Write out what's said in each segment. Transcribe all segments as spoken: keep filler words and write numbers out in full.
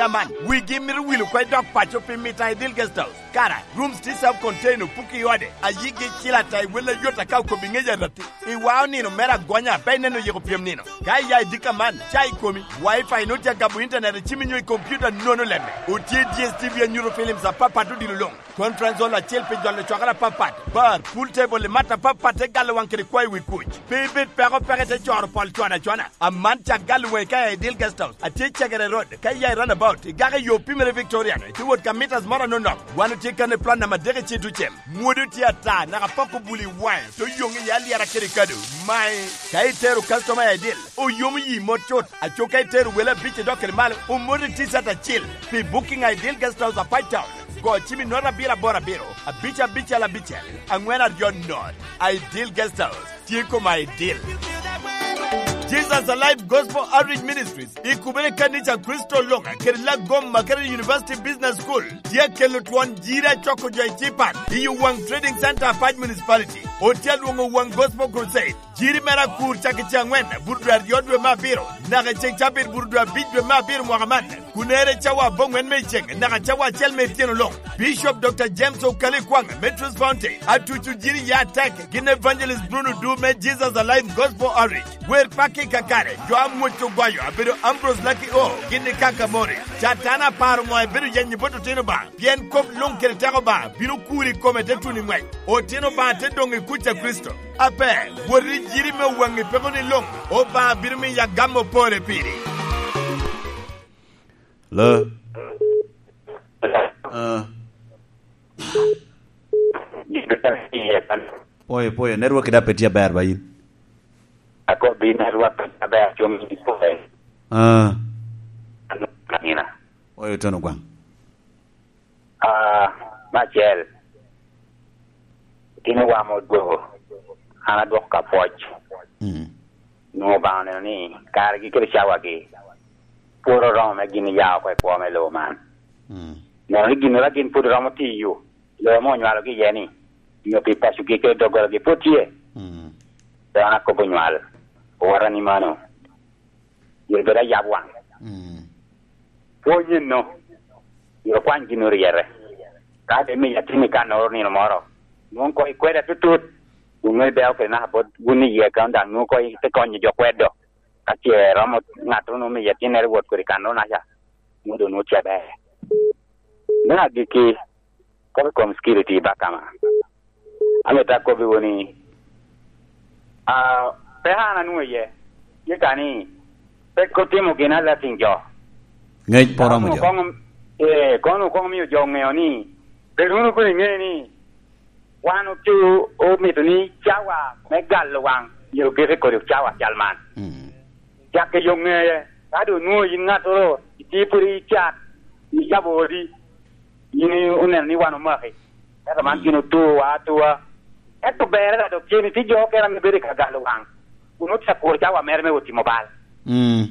Aman, wigi mito wil oko i dog paco pi mito a Ideal Guest House. Kara, rooms tye self-contained, opuko i ode, ayigi icil ata i wel ayot aka okobo i ŋec aratti. I wao nino mere agonya, pe ineno yiko pyem nino. Ka iya i dika man, ca i komi, Wi-Fi nwoŋo tye agabo internet, icim inyo i computer nono lemme. Otye D S T V anyuto films apapat odilo luŋ. Conference hall acel pi jolo cwakere apapat, bar, pool table i mat apapat te galo waŋ kede kwayo wi kuc. Pe ibed peko peko ite coro pol cwano acwana. Aman cak galo waŋi ka i Ideal Guest House, atye i Cegere Road, ka iya i runabout, igako i yo pimere Victoriano, ite wot ka mitas moro anono. Wan otye kan i plan namba adek i Citucem. Mwodo tye ata, naka poko buli i waŋe, te oyoŋ iye alyera kede kado. Mai, ka itero customer i Ideal, oyomo yi mot cut. Aco ka itero wele abic i dok kede malo, omoti T-shirt acil. Pi booking a Ideal Guest House a Pine Town, go cim i note abiro aboro abiro, abic abicel abicel, aŋwen aryo note. Ideal Guest House, tye koma Ideal. Jesus Alive Gospel Outreach Ministries, i kubere kanica Kricito Loka, kede Lagoma, kede University Business School, tye akelo twon jiri acoko jo i Cipan, i Owaŋ Trading Center, Apac Municipality. Otye alwoŋo Owaŋ Gospel Crusade. Jiri mere akur cak i ceŋ aŋwen, buto dwe aryo dwe me abiro, naka i ceŋ cabit buto dwe abic dwe me abiro mwaka man. Kunere cawa aboŋwen me i ceŋ, naka cawa acel me ityeno luŋ. Bishop Doctor James Okali Kwaŋ, Metros Fountain, atuco jiri ya atek, gin Evangelist Bruno Du me Jesus Alive Gospel Outreach. Wer pakki kakare, jo amwoc ogoyo, abedo Ambrose Lucky O, gin i Kaka Mori. Catana aparo ŋo ebedo yenyo bot otino ba, pien kop luŋ kede teko ba, bino kuri i kome te tuno i ŋwec. Otino ba te doŋ i kuc a Kricito. Ape, wot i jiri me waŋi peko ni luŋ, Obaŋa bino miyo agam opore piri. Lo. Ah. Pwoyo, pwoyo, network da pe tye aber ba in. Akobi network aber, acung i pwoyo. Ah. Ano, kanina. Pwoyo tono gwaŋ. Ah, me acel, itino wa me odwogo, an adwoko ka pwoc. Mm. Nwoŋo Obaŋa oneno ni kargi kede cawagi pwod oromo me gin ya oko i kwo me lobo man. Mm. Neno ni ginnoro a gin pwod romo tiyo, lobo ame onywalogi iye ni, nyo pi pacogi kede doggolagi pwod tye. Mm. Pe wan akobo nywal, owota ni mano. Myero bed ayab waŋ. Mm. Pwony enno, myero okwany gin oryete. Ka de miyo atin i kannoro nino moro, nwoŋo koŋ ikweda tutut, kun nwoŋo ibeo kede naka bot wun iye kan daŋ nwoŋo koŋ ite konyo jo kwedo. Ka ce romo ŋattoro nwoŋo miyo atinnere wot kodi kannoro naca, nwoŋo doŋ nwoŋo tye aber. Me agikki, kop i kom security i Bakama. Amito akobbiwu ni, ah, pe an anwoŋo iye, tye ka ni, pe otimo gin alating jo. Ŋec pe oromo jo. Koŋ, eh, kono koŋ omio jo oŋeo ni, bed wunu kun iŋe ni, wan otye omito ni cawa me galo waŋ, myero ogeke kodi cawa cal man. Mm. Cakke yo ŋeye, ka doŋ onwoŋo yin ŋattoro, itye pwod i cat, icabo odi, yin oneno ni wan omaki. Ento man gin otuwa atua. Ento berre dok tye ni tye jo okene ame bedo i ka galo waŋ, kun otye akuro cawa mere me wot timo bal. Mm.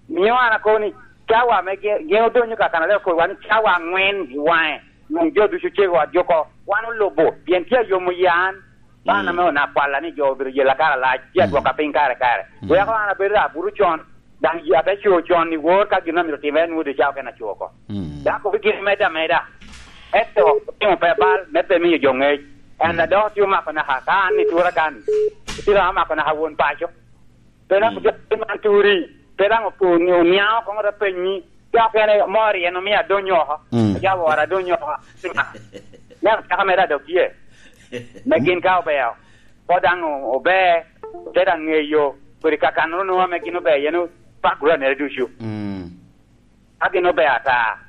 Mio an akobo ni cawa ame gin, gin odonyo ka kan aleo kobo wan ni cawa aŋwen i waŋe, nwoŋo jo ducu cego ot oko, wan olubo, pien tye ayomo yan. Ban ame onako kwalla ni jo obedo yela kare alac, tye adwoka piny kare kare. Mm. Weko an abedo abuto con, daŋ yi abe co con i wor ka gin amito timere nwoŋo doŋ ca okene aco oko. Mm. Dako bigire medde ameda. Ento otimo pe bal, me pe miyo jo ŋec. En a dok tye omako naka, ka an i tura kan, itino amako naka won paco. Pe daŋ otye man turi, pe daŋ opo-, oniaŋo koŋ ote penyi, ka okene mor en omio adonyo oko, mm, ojabo ot adonyo oko. Neno caka mere adok tye. Me gin ka obeo, po daŋ o-, ober, te daŋ ŋeyo, kodi kakanoro nwoŋo ame gin ober, yen background mere ducu. Mm. Ka gin ober ata,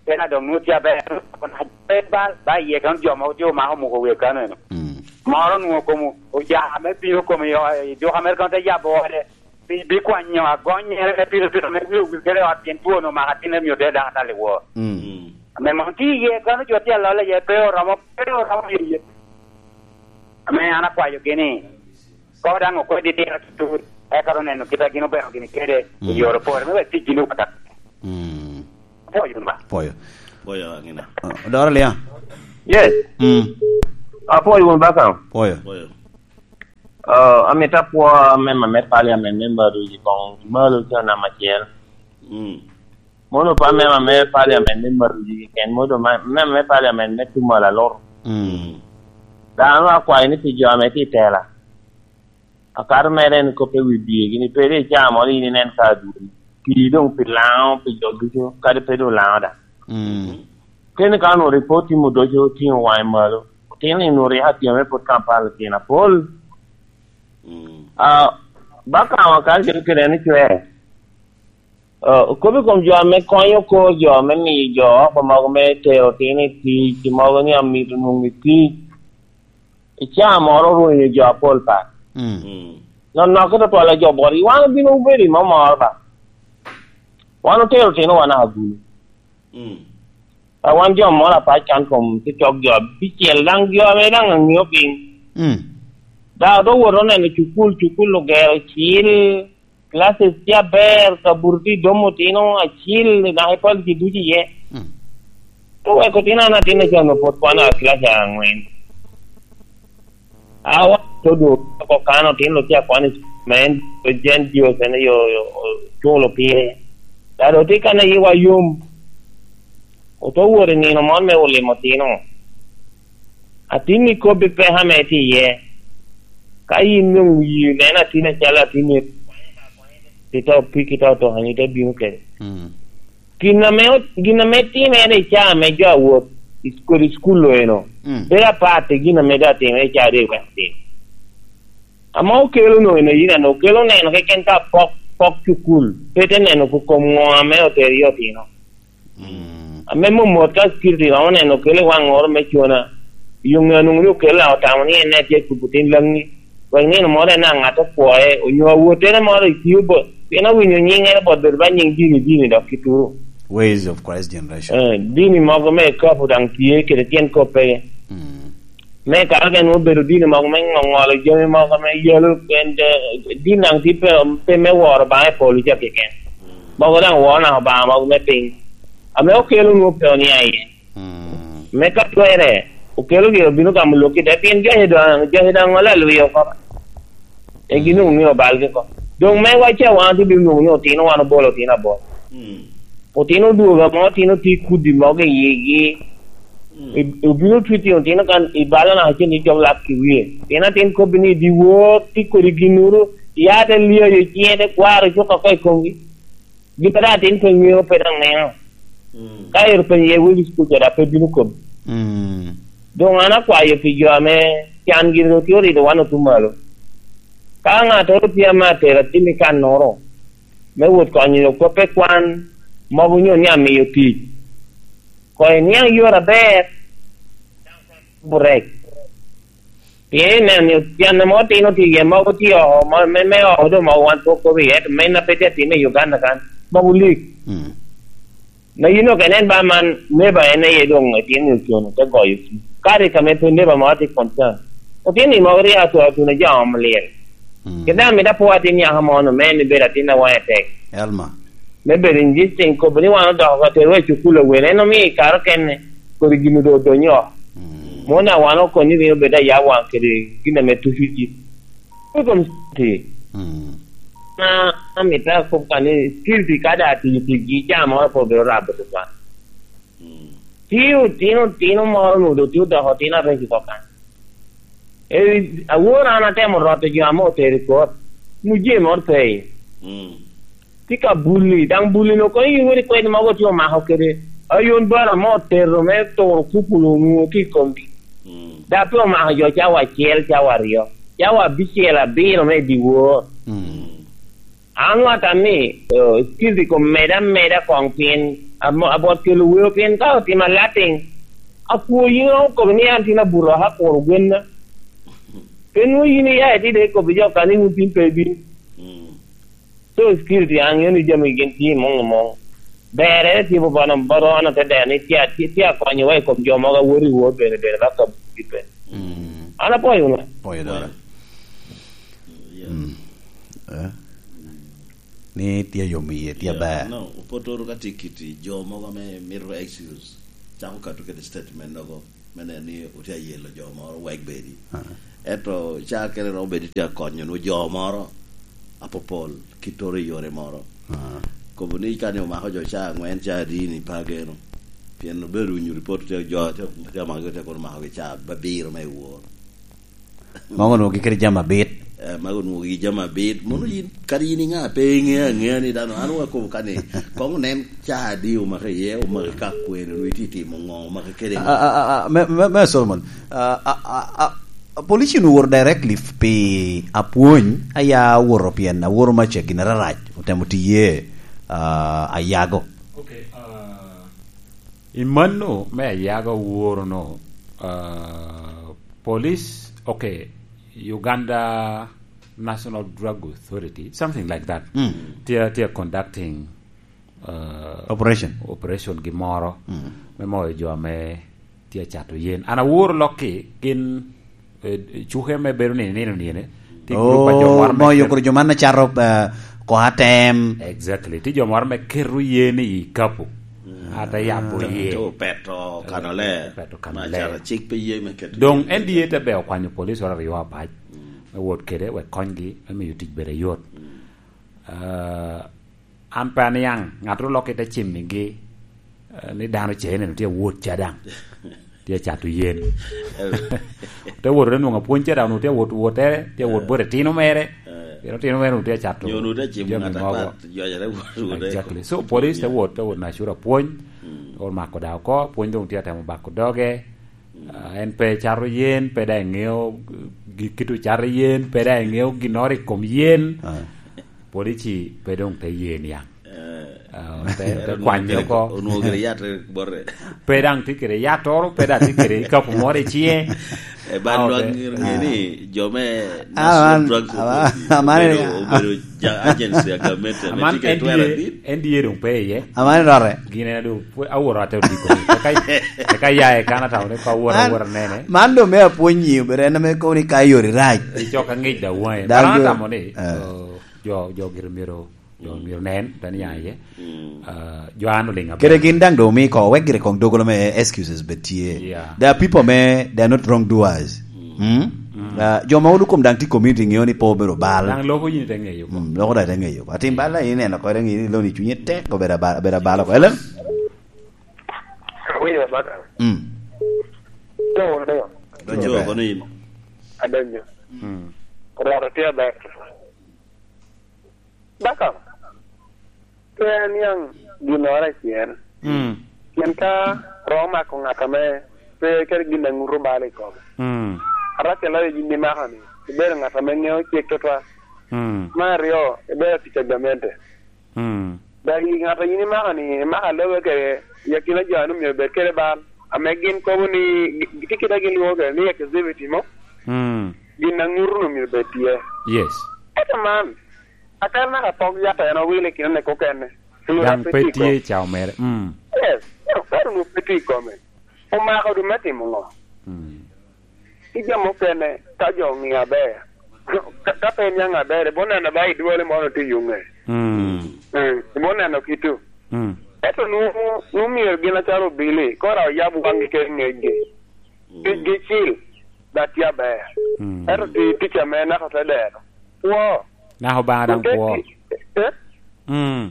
pien adok nwoŋo tye aber, pe bal, ba iye kano jo mogo tye omako omoko wie kano eno. Mm. Moro nwoŋo komo, oja me bino komo i o-, i duka mere kono te yabo ode, bi, bi kwanyo agonyere me pito pito me wie wi kede ot, pien two onwoŋo omako atinne, mio te dako atal i wor. Mm. Ame mom tye iye, kano jo tye alolo iye, pe oromo, pe oromo iye. Ame an akwayogi ni, koŋ daŋ okwed i tira tutut, eka oneno kit a gin obeko gini kede i, mm, yore pore, me wek tic gin owatak. Mm. Apwoyo wunu ba. Pwoyo. Pwoyo, Angina. Ah, Odoro Liang. Yes. Mm. Apwoyo wunu ba kan. Pwoyo. Pwoyo. Ah, amito apwo member me parliament, member Ruji koŋ malo ca namba acel. Mm. Mono pe amema me parliament me Maruji keken, mono ma-, amema me parliament me Tumal Alur. Mm. Dano akwayo ni pi jo ame tye i tela, akato mere en kop i wi biegi, ni pe ri icaa moro in inen ka adwori. Pi doŋ pi Laŋo, pi jo ducu, kadi pe doŋ Laŋo daŋ. Mm. Kene ka onwoŋo ripot tye mudoco, otiŋo waŋe malo, otino ni onwoŋo rik atyeme pwod Kampala tyen apol. Mm. Ah, ba ka wa kal kede kede ni cwer. Ah, okobo i kom jo ame konyo kor jo, me miyo jo oko mogo me tero otino i tic, mogo ni amito nwoŋo i tic. I caa moro orwenyo jo apol pat. Mm. Mm. Nonnoke tutwal a jo botgi, wan obino obedo i mo moro ba. Wan otero otinowa naka gulu. Mm. A wan jo moro apac kan kom te cok jo abicel, daŋ jo ame daŋ aŋeo piny. Mm. Daŋ ote wot oneno cukul, cukul ogero cil, classes tye aber, kabuto tye i dom otino acil, naka i policy ducu iye. Mm. Oweko otino an atin acel onwoŋo pwod kwano a class aŋwen. Awa to dwogo oko kan otino tye akwano i cukul, ma en Jane Dios en yo, yo, culo pire. Daŋ otye kan a yiwa yom. Oto wot i nino moro me olimo otino. Atin ikobbi peko ame tye iye. Ka yin doŋ yii neno atin acalo atin ni, ito piki, ito to, ite bino kede. Mm. Gin ame ot-, gin ame timere i caa me jo awot i, kodi i cukul eno, mm, pe apat i gin ame doŋ atimere i caa doŋ iweko timo. Ame okelo no eno, yin ano okelo neno keken ka pok, pok cukul, pe te neno ko-, kom ŋo ame otero i otino. Mm. Ame momot ka security romo neno okelo i waŋ oro me cona, yo ŋe onwoŋo ni okelo a otamo ni en ne tye kubo tin Laŋi. Wek nino moro en aŋat okwoe, onyo awottere moro i tio bot, pien awinyo nyiŋere bot bedo ba nyiŋ dini dini dok kituro. Ways of Christ Generation. Eh, dini mogo me ekapo daŋ tye kede tyen koppege. Mm. Me kare gen obedo dini mogo me ŋoŋolo jami mogo me yalo, en, eh, din daŋ tye pe, pe me woro Obaŋa i polo ca keken. Mogo daŋ woro naka Obaŋa mogo me piny. Ame okelo nwoŋo pe onia iye. Mm. Me ka twerre, okelo gire obino gamo lwak i te, pien joce daŋ, joce daŋ ŋolo alwi oko. E gin doŋ omio balgi oko. Doŋ me wacce wan otye bino nwoŋo ni otino wan obolo otino abolo. Mm. Otino odwogo amo, otino tye kudi mogo i yigi. Mm. I-, obino twiti otino kan i balo naka cen i jok lak i wie. Pien atin kobbi ni dyewor tye kodi ginnoro, ya te lyayo ciŋe te kwaro cuk oko i komgi. Gin pe daŋ atin pe ŋeo, pe daŋ neno. Mm. Ka ero penyo iye wegi cukul ca, daŋ pe bino kobbi. Mm. Doŋ an akwayo pi jo ame can gin ru tye orido wan otum malo. Ka ŋattoro tye ame atero atin i kannoro, me wot konyo nyo kop pe kwan, mogo nyo ni amiyo tic. Koŋ iniaŋ yore aber, burek. Pien ineno ni can ame otino tye iye mogo tye oko, mo-, me, me oko doŋ mogo wan pwod kobo iye, ento men a pe tye atime i Uganda kan, mogo lik. Mm. Na yin ok inen ba man, neba en aye doŋ etino ni ocono, te goyo ci. Kadi ka me pe neba moro tye concern. Otino ni mogo rik atwo atuna jo omo lyel. Mm. Kit daŋ amito apwo atin nyaka mono, me en ibedo atin a waŋe tek. Elma. Me bedo injisting, kobo ni wan odoko ka terowa i cukul awene, en omio i kare okene, kodi gin doŋ odonyo oko. Mm. Mono a wan okonyo bino bedo ayab waŋ kede gin ame tucu ji. I kom security. Mm. Na, amito akob ka ni security ka daŋ atiyo ticgi, caa moro pe obino rabo tutwal. Mm. Tye otino, otino moro onwoŋo doŋ tye odoko otino areco oko kan. E, awor an atemo roto jo ame otero i kot, mujee moro pe iye. Mm. Tye ka bulli, daŋ bulli-nu kono yin wot ikwed mogo tye omako kede ayon bara mo otero me turo kupulu onwoŋo tye i komgi. Mm. Daŋ pe omako jo cawa acel, cawa aryo, cawa abicel, abiro me i dyewor. Mm. An wata ni, eh, security kom meda meda koŋ pien amo-, abot kelo weo pien ka otimo alating, akwo yin okobo ni an tin abuto aka kuro gwenna. Pe nwoŋo yin iya itide ikobo jo kan ni wun tin pe ibino. Mm. So security an ŋeo ni jami gin tye i muŋ i muŋ. Berre tye bobono, bobono te deno ni tye, tye, tye akonyowa i kom jo mogo a wot i wot bene, bene ba kabugi pe. Mm. An apwoyo wunu. Pwoyo dora. Yeah. Mm. Eh? Ni tye yom iye, tye aber. Yeah, no, opotoro ka tye kiti jo mogo ame mito excuse, cako kato kede statement nogo, me neno ni otye ayelo jo moro wek bedi. Ah. Ento ca kene romo bedi tye akonyo nwo jo moro apopol, kittoro i yore moro. Ah. Kobo ni ka ni omako jo ca angwen, ca adi ni pe ageno. Pien obedo winyo ripot, tye jo, tye, tye amako, tye kono omako gi ca abiro me wor. Mogo onwoŋo gikede jami abit. Eh, mago onwoŋo gi jami abit. Mono yin, kadi yin iŋa pe iŋeo aŋea ni dano, an wakobo ka ni, koŋ onen ca adi omako iye, omako ka kwene, onwoŋo itye timo ŋo, omako kede ŋo? A, a, a, a, me, me, me Solomon, a, a, a, a, police onwoŋo owoto directly pi apwony, aya owoto pien awoto maca gin ararac, otemo tiye, a, ayago. Okay, ah, i mano me ayago woro no, ah, police, okay, Uganda National Drug Authority, something like that. Mm. Tye, tye conducting, ah, operation. Operation gi moro, mm, me moyo jo ame tye acato yen. An aworo lokki, gin, eh, cuke me bedo ni nino nino, tye group a jo moro me moyo ket- kodi jo man acato, eh, ko atem. Exactly. Tye jo moro me keto yen i kapo. Mm. Ate yabo yen. Te opeto kano ler. Opeto kano ler. Ma acato cik pe ye me keto yen. Dong N D A te be okwanyo police oro aryo apac. Mm. Me wot kede wek konygi, me miyo tic bedo ayot. Mm. Ah, an pe aniaŋ, ŋattoro lokke te cimmigi, eh, ni dano ce neno tye awot ca daŋ. Tye acato yen. Te wot te nwoŋo apwony ca daŋ, onwoŋo tye awot wotere, tye awot bot etino mere. Eh. Pien otino mere onwoŋo tye acato jami mogo. Nyo onwoŋo tye acimo ŋat apat, jocere wot, wot. Exactly. So, police te wot, te wot nacuro apwony, mm, te wot mako daŋ oko, apwony doŋ tye atemo bako doge. Ah, en pe cato yen, pe daŋ eŋeo gi-, kit ocato yen, pe daŋ eŋeo ginnoro i kom yen. Ah. Polici pe doŋ te ye niaŋ. Eh. Ah, te, te kwanye oko. Onwoŋo kede yat bote. Pe daŋ tye kede yattoro, pe daŋ tye kede kapo moro i ciŋe. Eh, ba nwaŋ ŋe ni jo me National Drugs Authority obedo, obedo ja-, agency a gamente ame tye kede twero adit. N D A doŋ pe iye. Aman rote. Gin en doŋ pwe-, aworo ate odiko. Eka, eka ya e kan atamo ni ko aworo, aworo nene. Man doŋ me apwonyi, obedo en ame kobo ni ka yori rac. Icok aŋic da waŋe. Dal jo, atamo ni, eh, oh, jo, jo gire myero, jo myero nen, dan ya iye. Mm. Ah, jo an oliŋ aber. Kede gin daŋ doŋ omi ko, wek gire koŋ dogolo me excuses bed tye. Yeah. There are people me, they are not wrong doers. Mm. Mm? Mm. Ah, jo ma wun okom daŋ tye i community ŋeo ni pe obedo bal. Daŋ loko yin ite ŋeyo ko. Mm, loko daŋ ite ŋeyo ko. Atim bal daŋ ineno ko, daŋ iloni cunye tek, obedo abal, obedo abal oko. Hello? Awinyo, Baka. Mm. Donyo, donyo. Donyo, kono in. Adonyo. Mm. Rwot otye aber. Baka, pe aniaŋ ginnoro acel. Mm. Pien ka romo mako ŋat ame pe kede gin a ŋuto bal i kome. Mm. Arac aloyo yin imako-ni, ibedo ŋat ame ŋeo cik tutwal. Mm. Me aryo, ibedo tic a gamente. Mm. Dok i ŋat a yin imako-ni, imako alobe kede i akina jo a nwoŋo myero bed kede bal, ame gin kobo ni, gi-, gitye kit a gin lwoŋo kede ni exclusivity mo. Mm. Gin a ŋuto nwoŋo myero bed tye. Yes. Ento man, Akal naka pok yat en owilo i kinone kokene. Daŋ pe tye i cawa mere. Mm. Yes, daŋ kwaro onwoŋo pe tye i kome. Omako dum me timo ŋo? Mm. Ki jo mukene, ka jo oŋio aber, ka, ka pe iniaŋ aber, ibo neno ba i dwole moro tye i yo ŋe. Mm. Mm, ibo neno kito. Mm. Ento nwoŋo, nwoŋo myero gin acalo obili, koro oyab waŋgi kede ŋecgi. Mm. Ticgi cil, dok tye aber. Mm. Ento ti-, tic ame naka te dero. Kwo. Naka Obaŋa daŋ kwo. Ti-, eh? Mm.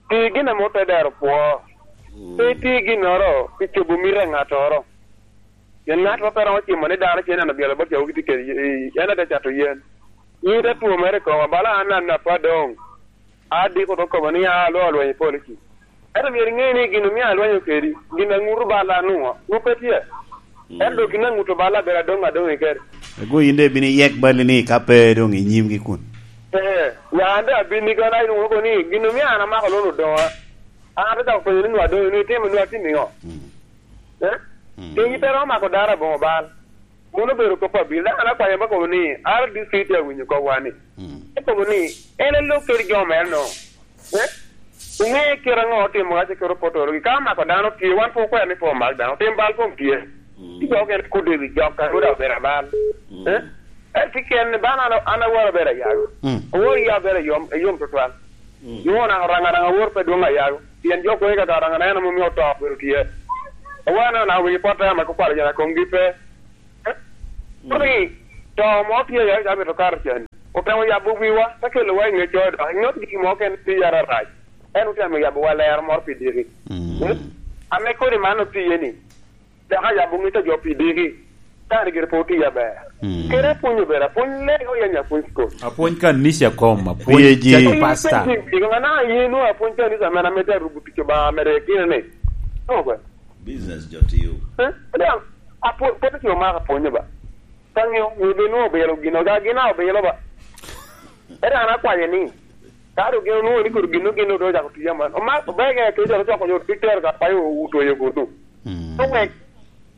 Ti gin ame ote dero kwo. Mm. Pe iti ginnoro pi cobo mito a ŋattoro. Pien ŋat ma pe romo cimo ni dano ce neno byalo bot cawo gitye kede, i, en ate cato yen. Yin ite two mere i koma, bala an, an apwa doŋ. Adiko te kobo ni, "A, alwor alweny i polo-ci." Ento myero iŋe ni gin omio alwenyo kedi, gin a ŋuto balla anwoŋo, nwoŋo pe tye. Mm. Ento dok gin a ŋuto balla abedo adoŋ adoŋ i keri. Ego yin daŋ ibino iyek balli ni ka pe doŋ i nyimgi kun. Ee, ya an daŋ abin ni kena inwoŋo kobo ni, gin omio an amako loan odoŋa. An atye cako penyo ni nwa doŋ, nwa itimo, nwa atimo iŋo? Mm. Eh? Mm. Piny pe romo mako dano aboŋo bal. Mano obedo kop abiro. Dano akwanyo ba kobo ni, R D C tye awinyo kop wani. Mm. Te kobo ni, en elok kede jo mere no. Eh? Oŋe kite aŋo otimo ka ce kero potoro gi. Ka mako dano tye, wan pe okwero ni pe omak dano. Tim bal kom tye. Mm. Ti jo okene kudo i wi jok, ka ruda obedo abal. Mm. Eh? Eh, ti ken ni bana an, an aworo bedo ayago. Mm. Aworo iya bedo yom, yom tutwal. Mm. Nwoŋo naka Oraŋa daŋ awor pe dwoŋ ayago. Pien jo kwoŋi kaka Oraŋa en ame omio oto obedo tye. Awor anaka wi pot ame kwalo jo na komgi pe. Eh? Mm. Koni, to mo tye ya, ya mito kato can. Otemo yabo wiwa, te kelowa i ŋe codo. Iŋot gin mo ken tye yara rac. En otemo yabo wa lero moro pi diki. Mm. Mm? Ame kodi man otiye ni, dok ayabo ŋec a jo pi diki. Kare gire pe otiye aber. Mm. Kere apwonyo bera, apwony lego yanya apwony skul. Apwony kanisa kom, apwony P A G. Church pastor. Ŋa na yen wa apwony kanisa men ame te rubu tic Obaŋa mere kine ni. No, kwe. Business jo tiyo. Eh? Daŋ, apwo-, pwod otiyo maka apwonyo ba. Ka ŋeo, ŋeo be nwoŋo obilo gino, ga gin a obilo ba. Ere an akwaye ni, ka dok gin onwoŋo ni kodi gin, gin dok ocako tiyo man. Oma-, obege ke jalo coko yo, pi tero ka payo otweyo kuno. Mm. To wek,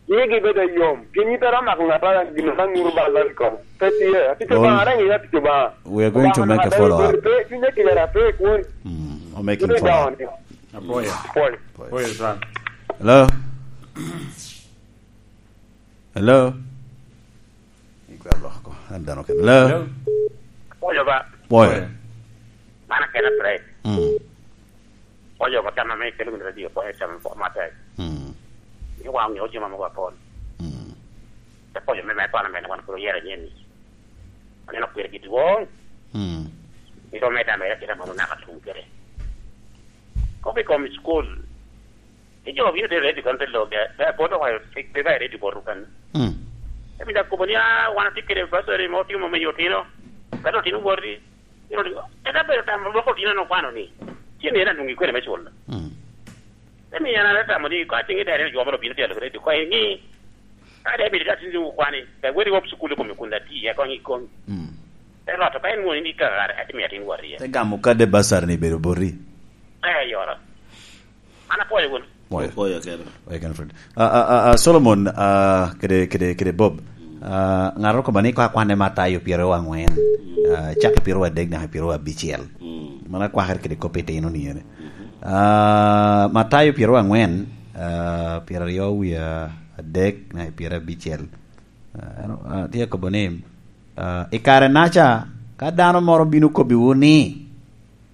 yigi bed ayom. Pien yit a rom mako ŋat a gin ka ŋuru balla i kom. Pe tye, atico All ba, ara ŋeyo atico ba. We are going to make a follow up. Pe, cunye kiyera pe kwon. Mm, we're making follow up. Apwoyo. Apwoyo. Apwoyo, Frank. Hello? Hello? Ikwa loko, an dano kene. Hello? Hello? Pwoyo ba. Pwoyo. Pwoyo. Man akena Fred. Mm. Pwoyo ba tam ame kelo gin radio, pwoyo tam po matek. Mm. Ni wan ngeyo jami mogo apol. Mm. Te pwoyo me, me kwana mene wan kuro yere nyen ni. Aneno kwir gi dwong. Mm. Ito me dame ya kira mono naka tum kere. Kopi kom school. Ijo bino te ready kon te loge, te poto wa, te, te ba ready boto kan. Mm. Emi da kobo ni, "Ah, wan atye kede bursary mo timo me otino." Kata otino woti, ino digo, eka bedo tam loko otino no kwano ni, "Cen en adwoŋ ikwene me culo." Mm. Emi en atamo ni, ka cing i dere jo mo obino tye alo ready, ko eni, ka de bedo ka tin dwoŋ kwani, ka weri wop sukulu kome kun da ti, ya kong i kong. Mm. Te loto, ka en woni ni kakare, atimo ya tin wori ya. Te gamo kade bursary ni bedo boti. Eh, yora. An apwoyo wunu. Pwoyo. Opwoyo kene. Pwoyo kene, Fred. Ah, ah, ah, ah, Solomon, ah, kede, kede, kede Bob. Mm. Ah, ŋat okobba ni ko akwanne Matayo pyeraryo angwen, mm, ah, cak i pyeraryo adek naka pyeraryo abicel. Mm. Mano akwakere kede kop itino ni ene. Mhm. Ah, Matayo pyeraryo angwen, ah, pyeraryo wie adek naka pyeraryo abicel. Ah, en, ah, tye kobo ni, ah, "I kare-naca, ka dano moro bino kobbiwu ni,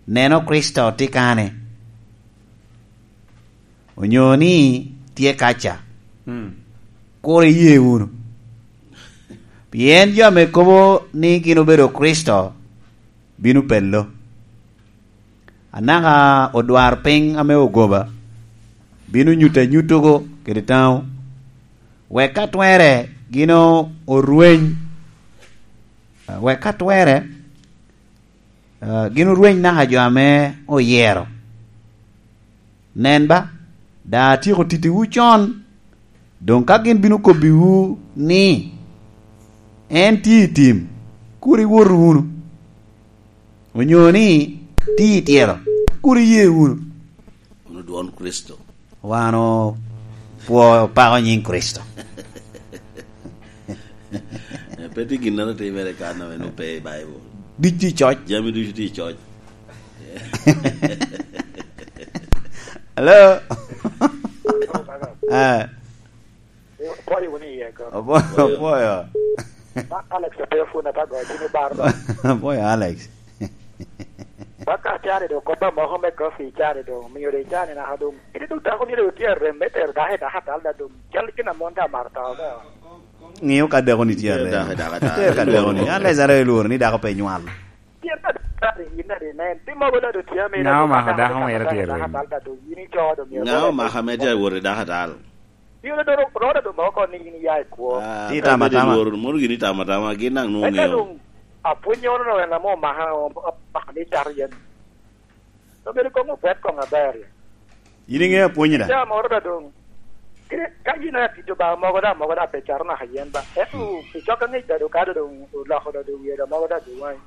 'Neno, Kricito tye kane,' onyo ni, 'Tye kaca,' mm, kur iye wunu. Pien jo ame kobo ni gin obedo Kricito bino pelo. Anaka odwarpiny ame ogoba bino nyuto anyuttogo kede taŋo, wek ka twerre gin o-, orweny, wek ka twerre, ah, gin orweny naka jo ame oyero. Nen ba, daŋ atyeko tittiwu con, doŋ ka gin bino kobbiwu ni, 'En tye i tim,' kur iwot wunu, onyo ni, 'Tye i tyelo,' kur iye wunu." Wunu dwon Kricito. Wan opwo-, opako nyiŋ Kricito. Eh, pe tye ginnoro timere kan ame nwoŋo pe i Baibul. Ducu tye i coc. Jami ducu tye i coc. Hello? Eh. Opwoyo wunu iye, ko. Opwo-, opwoyo. Ma Alex pe ofuna pa goyo cim i bar ba. Opwoyo, Alex. Ba ka cani do kop a moko me kofi i cani do, omio do i cani naka do. Kadi do dako myero otye arem me tero dako i dako atal da do. Cal gin a mon da maro to, ba. Ŋeo ka dako ni tye arem. Dako i dako atal. Tero ka dako ni. Alex are lworo ni dako pe nywal. Pien ka dako i yin da di nen. Pi mogo da do tye ame. Ŋa omako dako mere tye arem? Atal da do. Yin ico do myero. Ŋa omako ame tye awot i dako atal? Pi olo do ro-, roro do moko ni yin iya i kwo. Ah, ti tama tama. Lworo, mono gini tama tama, gin daŋ nwoŋo ŋeo. Eka doŋ apwonnyoro no en ame omaka, omaka ni cato yen. Obedo koŋ opwet koŋ aber. Yin iŋeo apwonyi da? Ca moro da doŋ. Kite, ka yin atito ba mogo da, mogo da pe cato naka yen ba. Ento, mm, i cok aŋec da do kado doŋ oloko da do wie da mogo da do waŋi.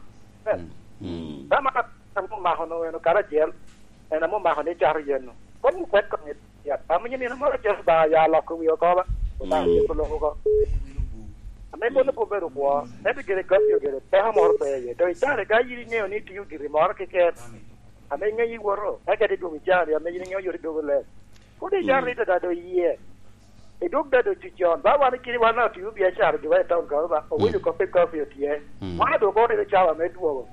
Mm. Mm. Tama ame omako no en okalo acel, en ame omako ni cato yen no. Koŋ opwet koŋ. Ya, amo nyin nino moro Yecu ba ya loko wi oko ba. Oba, mm, Yecu loko oko. Ame mano pe obedo kwo, ento gire goppi ogire peko moro pe iye. To icare ka yin iŋeo ni itio giri moro keken, ame iŋeyo iwoto, eka ite dwogo icari, ame yin iŋeo yot idogo leb. Pwod icaro ni dada do iye. Idwog dada otic con. Ba wan ikiri wan otio biacara giwa i taun kono ba, owinyo kop i kopi otye. Mm. Wan adwogo ni cawa me dwogo.